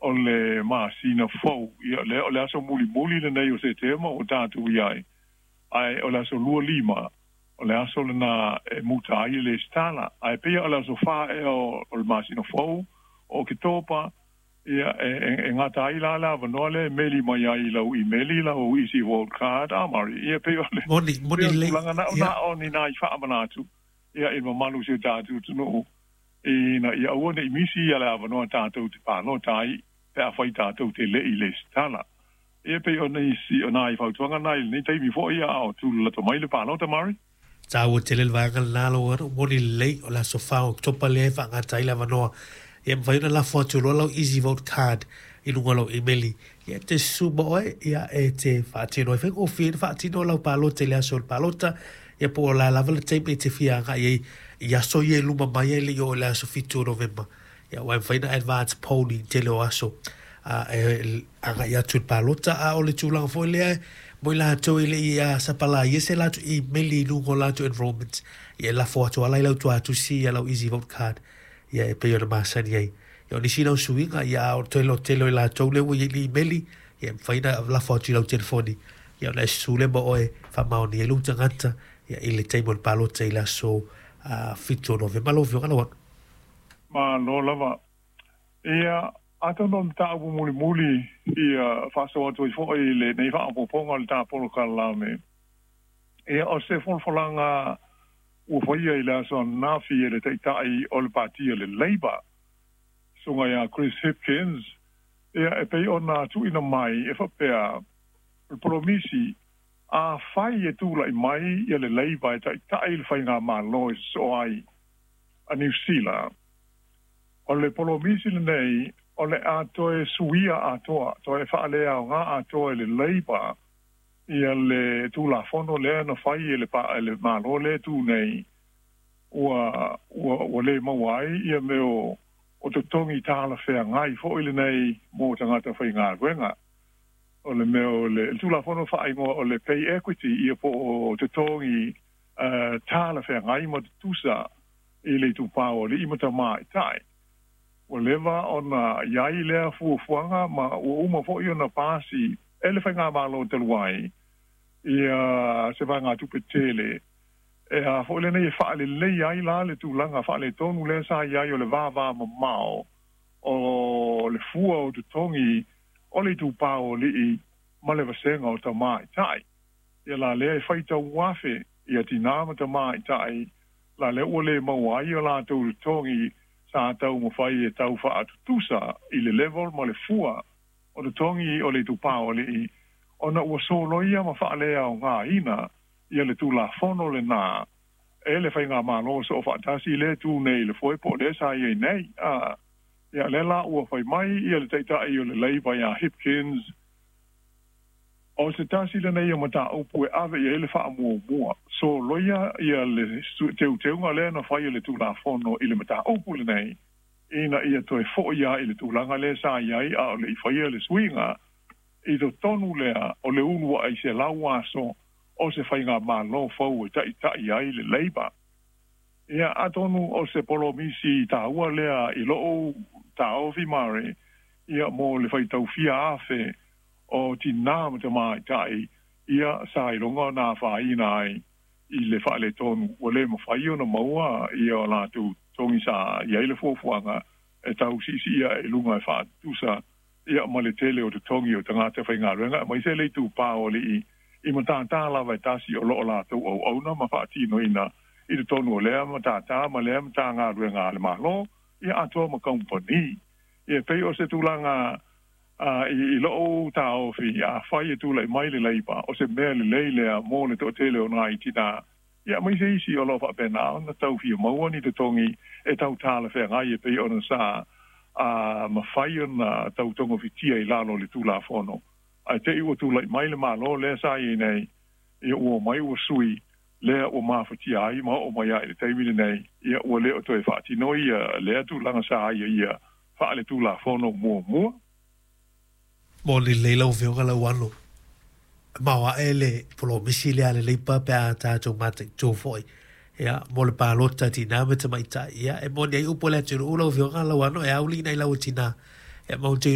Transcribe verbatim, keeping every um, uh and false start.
O le masina fou, ia lea o le aso mulimuli lenei o Setema ua tatou i ai, ae o le aso lua lima o le aso lena e muta ai le lesitala. Ae pei o le aso fa ea o le masina fou o Oketopa, ia e, e, e gata ai la le avanoa lea e meli mai ai i lau imeli lau easy vote card a Mari. Ia pei o le Moni, moni lelei. Tulaga na Ia. o ni nai faamanatu ia i mamalu o si o tatou atunuu ina ia aua ne i misi ia le avanoa tatou te palota ai pe afai tatou te le i lesitala. Ia pei o nisi o nai fautuaga na i lenei taimi foi a o tulalato mai le palota, Mari. Taua tele le vaega lena lau anu, moni lelei, o le aso fa o Oketopa lea e faagata ai le avanoa. Ia mafai ona lafo atu loa lau easy vote card i luga o lau imeli. Ia e te susu ma oe, ia e te faatino ai faigofie ona faatino lau palota i le aso o le palota. Ia po o le a lava le taimi e te fia agai ai i aso ia e luma mai ai le i oo i le aso fitu o Novema. Ia aua e mafai ona advance polling tele o aso a e agai atu i le palota. A o le tulaga foi lea mo i latou e le i sapalaia se latou imeli i luga o latou enrollment. Ia e lafo atu ala i lau tuatusi ia lau easy vote card ia e pei ona masani ai. Ia o nisi na o suiga, ia a o toe tele o i latou lea ua i ai le imeli, ia e mafai ona lafo atu i lau telefoni. Ia ona e susu lea ma oe faamaonia ai lou tagata ia i le taimi o le palota i le aso fitu o Novema lau Afioga Lauano. Malo lava. Ia, atonu o le mataupu mulimuli ia faasoa atu ai foi i lenei faaopoopoga o le ta polokalame. Ia, o se folafolaga ua faia i le aso ananafi e le Taitai o le Pati o le Labour, susuga ia Chris Hipkins, ia e pei ona tuuina mai e faapea, o le polomisi, afai e tulai mai ia le Labour e taitai le faigamalo e sosoo ai a Niu Sila, o le polomisi lenei o le a toe suia atoa, toe faaleaoga atoa e le Labour ia le Tulafono lea na fai e le le Malo lea tu nei ua ua ua le maua ai ia mea o o totogi talafeagai foi lenei mo tagata faigaluega. O le mea o le Tulafono faaigoa o le pay equity, ia po o totogi uh, talafeagai ma tutusa i le itupa o alii ma tamaitai. Ua leva ona i ai lea fuafuaga ma ua uma foi ona pasi e le faigamalo talu ai ia se vaegatupe tele e a foi lenei e faalelei ai la le tulaga faaletonu lea sa i ai o le vavamamao o le fua o totogi o le itupa o alii ma le vasega o tamaitai. Ia la lea e faitau afe ia tinā ma tamaitai la lea ua le maua ai o latou totogi sa taumafai e tau faatutusa i le level ma le fua o totogi o le itupa o alii ona ua soloia ma faaleaogaina ia le Tulafono lena e le faigamalo soo faatasi lea tu nei le foe po o lea sa i ai nei. A ia lea la ua fai mai ia le Taitai o le Labour ia Hipkins, o se tasi lenei o mataupu e ave i ai le faamuamua, soloia ia le teuteuga lea na fai e le Tulafono i le mataupu lenei ina ia toe foi ai i le tulaga lea sa i ai a o le i faia le suiga i totonu lea o le uluai selau aso o se faigamalo fou e taitai ai le Labour. Ia atonu o se polomisi taua lea i lou taofi, Mari, ia mo le faitaufia afe o tinā ma tamaitai ia sa iloga ona afaina ai i le faaletonu ua le mafai ona maua ia o latou totogi sa i ai le fuafuaga e tau siisiia i luga e faatutusa ia ma le tele o totogi o tagata faigaluega aemaise le itupa o alii i matātā lava e tasi o loo latou auauna ma faatinoina i totonu o lea matātā ma lea matagaluega a le Malo ia atoa ma kamupani. Ia pei o se tulaga i, i lou taofi, afai e tulai mai le Labour, o se mea lelei lea mo le toatele o nai tinā ia aemaise isi o loo faapena ona tau fia maua ni totogi e tau talafeagai e pei ona sa a mafai ona tau togofitia i lalo o le Tulafono. Ae te i ua tulai mai le Malo lea sa i ai nei, ia ua omai ua sui lea ua mafatia ai ma oo mai ai i le taimi lenei, ia ua le o toe faatino ia lea tulaga sa ai ia faaletulafono muamua. Moni lelei lau Afioga Lauano. Maoae le polomisi lea a le Labour pe a tatou mataitu foi. Ia, mo le palota tinā ma tamaitai. Ia, e moni ai upu a le atunuu lau Afioga Lauano, e auliina i lau tinā. Ia, ma ou te